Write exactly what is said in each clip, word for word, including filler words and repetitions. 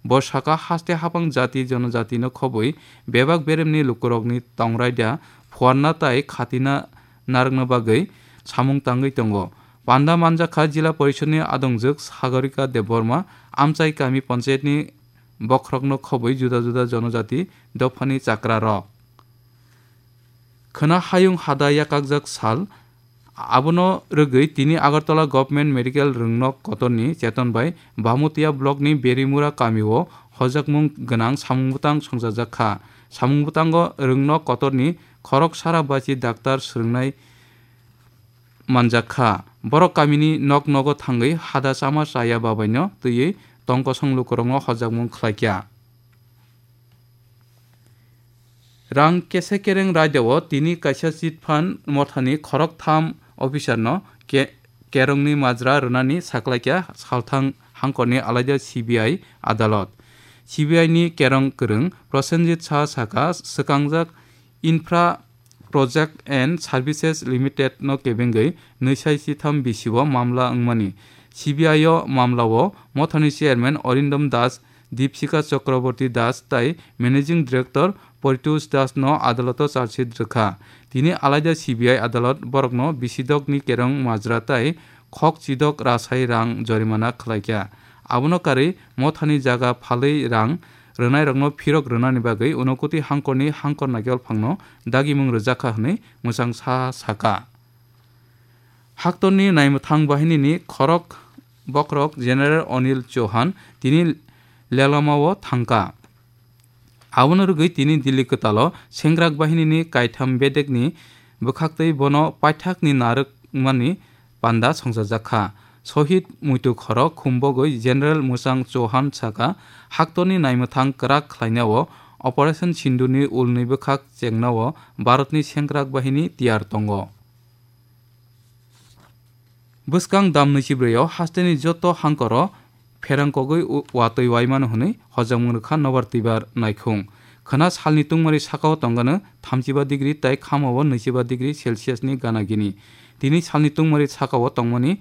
Bo saka haste hapang jati jonojatino khobwi bebak beremni lukurokni tongraida phuarna tai khatina narwkna bagwi samung tangwi tongo. Panda manjakha Jila Porishodni adongjwk Sagorika Debbarma, amchai kami panchayatni bokhorokno khobwi juda juda jonojati dophani chakrarok. Khwna hayung hada yakakjak sal, abono rwgwi tini Agartala Government Medical Rwngnok Kotorni cheton bai Bamutia Blockni Berimura kamio hojakmung gwnang samung bwtang songchajak kha. Samung bwtango Rwngnok Kotorni khorok sara bachi daktar swrwngnai manjak kha. Borok kamini nok nogo thangwi hada chama chaya babaino twiwi tongkosong lukurokno hojakmung khlaikha. Rang kese kereng raidao tini kaisa chit fund mothani khoroktham officerno ke-, kerongni majra rwnani saklaikha salthang hangkorni alaida C B I adalot. C B I ni kerong kwrwng Prosenjit Shah saka, swkangjak Infra Project and Services Limited no kebengwi nwi sai sitham bisio mamla wngmani. C B I o mamlao mothani chairman Arindam Das, Deepsika Chakraborty Das tai Managing Director Paritosh Das no adaloto charge sheet rwkha. Tini alaida C B I adalot borokno bisidokni kerong majra tai khok chidok rasai rang jorimana khlaikha. Abono karwi mothani jaga phalwi rang rwnairokno phirok rwnani bagwi Unakoti hangkorni hangkor naikolphangno dagimung rwjakha hwnwi mwchangsa saka. Haktorni naimwthang bahinini khorok bokhorok General Anil Chauhan tini Lelamao thangkha. Abono rwgwi tini Delhi kwtalo Sengkrak bahinini kaitham bedekni bwkhaktwi bono paithakni narwkmani panda songchajak kha. Sohid muitu khorok khumbogwi General Mwchang Chauhan saka, haktorni naimwthang kwrak khlainao Operation Sindurni ulni bwkhak chengnao Bharatni Sengkrak bahini tiyar tongo. Bwskang dam nwichibrwi o hasteni joto hangkoro pherang kogwi u-, watwi waimano hwnwi hojakmung rwkha nobar twibar naikhung. Khwna salni tungmari sakao tongano thamchiba degree tai khamao nwichiba degree Celsius ni gana gini. Tini salni tungmari sakao tongmani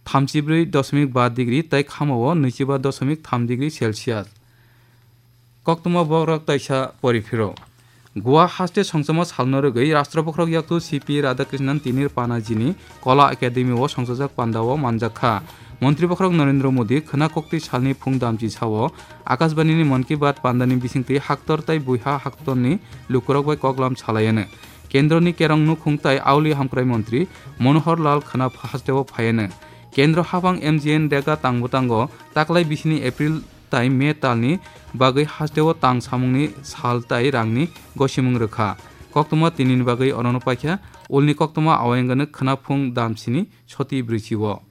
thamchibrwi dosmik ba degree tai khamao nwichiba dosmik tham degree Celsius. Koktwma borok taisa poriphiro. Goa haste songchamo salno rwgwi Rashtra Bokhorok Yaktu C P Radhakrishnan tini Panajini Kola Academy o songchajak pandao manjak kha. Montri Bokhorok Narendra Modi khwna koktwi salni phung damchi sao Akashbanini Mann Ki Baat pandani bisingtwi haktor tai buiha haktorni lukurok bai koklam salaiano. Kendroni kerong nukhung tai auli hamkrai montri Manohar Lal khwna hasteo phaiano. Kendro habang M G N Rega tangbo tango taklai bisini April tai May talni bagwi hasteo tang samungni sal tai rangni gosimung rwkha. Koktwma tinini bagwi orono paikha, ulni koktwma awayangano khwna phung damsini soti brwichio.